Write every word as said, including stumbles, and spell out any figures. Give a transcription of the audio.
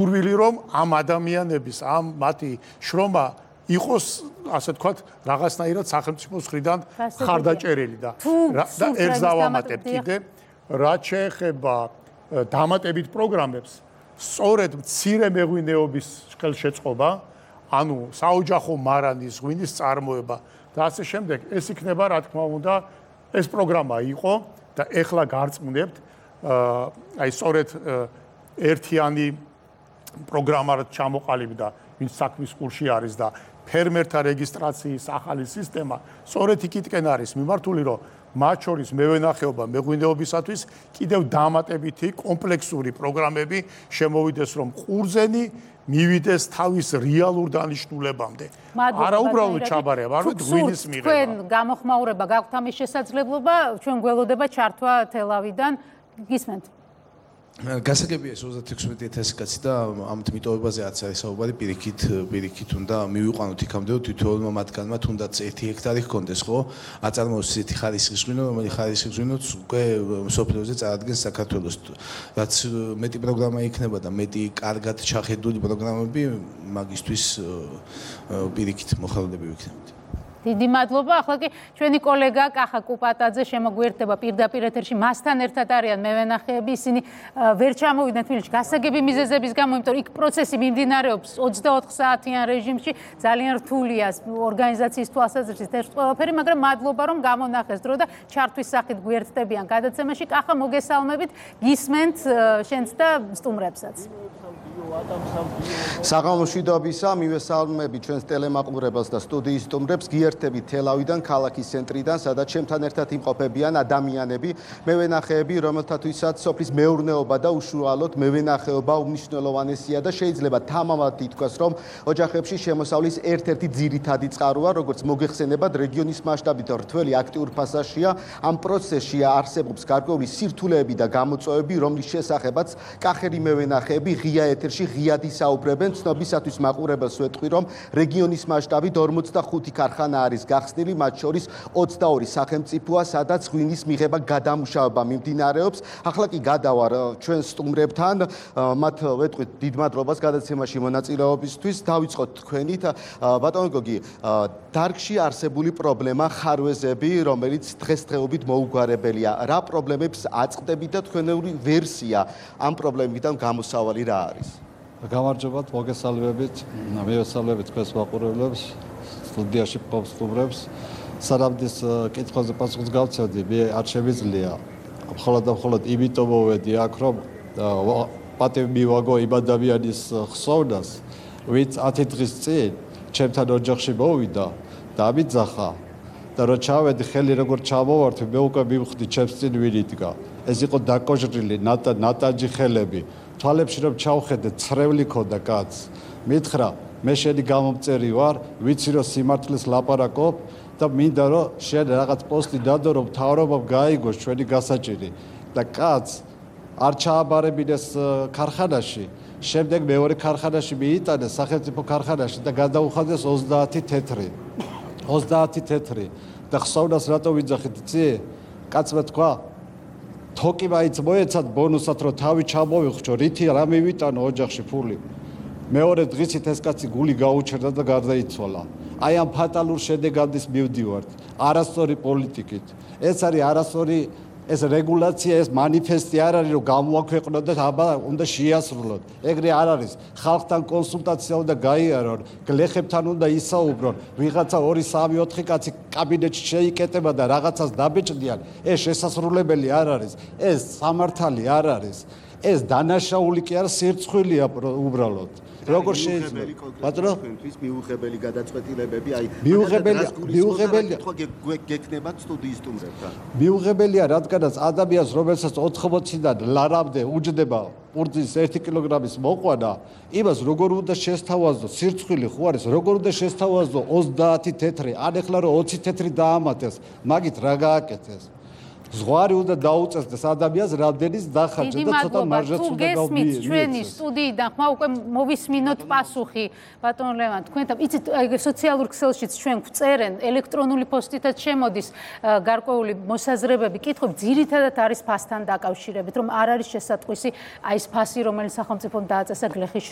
გურვილი რომ ამ ადამიანების ამ მათი შრომა იყოს ასე თქვათ რაღაცნაირად სახელმწიფოს მხრიდან ხარდაჭერილი და და ერთს დავამატებ კიდე რაც შეეხება დამატებით პროგრამებს სწორედ მცირე მეღვინეობის ხელშეწყობა ანუ საოჯახო მარანის ღვინის წარმოება და ასე შემდეგ ეს იქნება რა თქმა უნდა ეს პროგრამა იყო და ეხლა გარწმუნებთ აი სწორედ ერთიანი პროგრამა ჩამოყალიბდა ვინც საქმის კურსში არის და ფერმერთა რეგისტრაციის ახალი სისტემა სწორედ იქითკენ არის მიმართული რომ მათ შორის მევენახეობა მეღვინეობისათვის კიდევ დამატებითი კომპლექსური პროგრამები შემოვიდეს რომ ყურძენი მივიდეს თავის რეალურ დანიშნულებამდე არა უბრალოდ ჩაბარება არამედ ღვინის მიღება თქვენ გამოხმაურება გაქვთ ამის შესაძლებლობა ჩვენ გველოდება ჩართვა თელავიდან გისმენთ გასაგებია ეს ოცდაექვსმეტი ათასი კაცი და ამ მიტოვებაზე რაც არის საუბარი პირიქით პირიქით უნდა მივიყვანოთ იქამდე თითოეულმა მათგანმა თუნდაც ერთი ჰექტარი ჰქონდეს ხო აწარმოოს ისეთი ხარისხის ღვინო რომელიც ხარისხის ღვინოც უკვე სოფლიოზე წარადგენს საქართველოს რაც მეტი პროგრამა იქნება და მეტი კარგად ჩახედული პროგრამები მაგისთვის პირიქით მოხალხეები ვიქნებით დიდი მადლობა. ახლა კი ჩვენი კოლეგა კახა კუპატაძე შემოგვიერთდება პირდაპირ ეთერში. მასთან ერთად არიან მევენახეები. ისინი ვერ ჩამოვიდნენ თბილისში გასაგები მიზეზების გამო, იმიტომ რომ იქ პროცესი მიმდინარეობს ოცდაოთხ საათიან რეჟიმში. ძალიან რთულია ორგანიზაციის თვალსაზრისით ეს ყველაფერი, მაგრამ მადლობა რომ გამონახეს დრო და ჩართვის სახით გვიერთდებიან გადაცემაში. კახა მოგესალმებით. გისმენთ შენც და სტუმრებსაც. საღამომშვიდობისა მივესალმები ჩვენს ტელემაყურებელს და სტუდიის სტუმრებს გიერთებით თელავიდან ქალაქის ცენტრიდან სადაც ჩემთან ერთად იმყოფებიან ადამიანები მევენახეები რომელთათვისაც სოფლის მეურნეობა და უშუალოდ მევენახეობა უმნიშვნელოვანესია და შეიძლება თამამად ითქვას რომ ოჯახებში შემოსავლის ერთ-ერთი ძირითადი წყაროა როგორც მოგეხსენებათ რეგიონის მასშტაბით რთველი აქტიურ ფასაშია ამ პროცესში არსებობს გარკვეული სირთულეები და გამოწვევები რომლის შესახებაც კახელი მევენახეები ღია ეთერში ღიად ისაუბრებენ ცნობისათვის მაყურებელს ვეთქვი რომ რეგიონის მასშტაბით ორმოცდახუთი ქარხანა არის გახსნილი მათ შორის ოცდაორი სახელმწიფოა სადაც ღვინის მიღება გადამუშავება მიმდინარეობს ახლა კი გადავარ ჩვენ სტუმრებთან მათ ვეთქვით დიდ მადლობას გადაცემაში მონაწილეობისთვის დავიწყოთ თქვენით ბატონო გოგი დარგში არსებული პრობლემა ხარვეზები რომელიც დღესდღეობით მოუგვარებელია რა პრობლემებს აწყდებით და თქვენეული ვერსია ამ პრობლემებიდან გამოსავალი რა არის გამარჯობათ, მოგესალმებით, მივესალმებით თქვენს მაყურებლებს, სტუდიაში მყოფ სტუმრებს. სარამდის კითხვაზე პასუხს გავცემდი, მე არ შემიძლია. მხოლოდ და მხოლოდ იმიტომ მოვედი აქ, რომ პატივი მივაგო იმ ადამიანის ხსოვნას, ვინც ათი დღის წინ ჩემთან ოჯახში მოვიდა და ამიძახა და რო ჩავედი ხელი როგორ ჩამოვართვი, მე უკვე მივხვდი ჩემს წინ ვინ იდგა. ეს იყო დაკოჟრილი ნატანჯი ხელები. თვალებში რომ ჩავხედე ცრევლი ქონდა კაცს მითხრა მე შენი გამომწერი ვარ ვიცი რომ სიმართლეს ლაპარაკობ და მინდა რომ შენ რაღაც პოსტი დადო რომ მთავრობამ გაიგოს ჩვენი გასაჭირი და კაცს არ ჩააბარებინეს ქარხანაში შემდეგ მეორე ქარხანაში მიიტანეს სახელმწიფო ქარხანაში და გადაუხადეს ოცდაათი თეთრი ოცდაათი თეთრი და ხსოვნას რატო ვიძახით იცი კაცმა თქვა თოკი მაინც მოეცათ ბონუსად რომ თავი ჩამოვიხჩო რითი რა მივიტანო ოჯახში ფული მეორე დღისით ეს კაცი გული გაუჩერდა და გარდაიცვალა აი ამ ფატალურ შედეგადის მივდივართ არასწორი პოლიტიკით ეს არის არასწორი ეს რეგულაცია ეს მანიფესტი არ არის რომ გამოაქვეყნოთ და აბა უნდა შეასრულოთ ეგრე არ არის ხალხთან კონსულტაცია უნდა გაიარონ გლეხებთან უნდა ისაუბრონ ვიღაცა ორი სამი ოთხი კაცი კაბინეტში შეიკეტება და რაღაცას დაბეჭდიან ეს შესასრულებელი არ არის ეს სამართალი არ არის ეს დანაშაული კი არა სირცხვილია უბრალოდ როგორ შეიძლება ბატონო თქვენთვის მიუღებელი გადაწყვეტილებები აი მიუღებელი მიუღებელი გეკნებათ სტუდიის სტუმრებთან მიუღებელია რადგანაც ადამიანს რომელსაც ოთხმოციდან ლარამდე უჯდება პურძის ერთი კილოგრამის მოყვანა იმას როგორ უნდა შესთავაზო სირცხვილი ხო არის როგორ უნდა შესთავაზო ოცდაათი თეთრი ან ეხლა რომ ოცი თეთრი დაამატეს მაგით რა გააკეთეს ზღვარი უნდა დაუწესდეს ადამიანს, რამდენის დახარჯა და ცოტა მარჟაც უნდა გავბიე. ჩვენი სტუდიიდან ხმა უკვე მოვისმინოთ პასუხი ბატონ ლევან თქვენთან. იცით, სოციალურ ქსელშიც ჩვენ გვწერენ, ელექტრონული პოსტითაც შემოდის გარკვეული მოსაზრებები, კითხვები, ძირითადად არის ფასთან დაკავშირებით, რომ არ არის შესატყვისი აი ეს ფასი, რომელიც სახელმწიფომ დააწესა გლეხის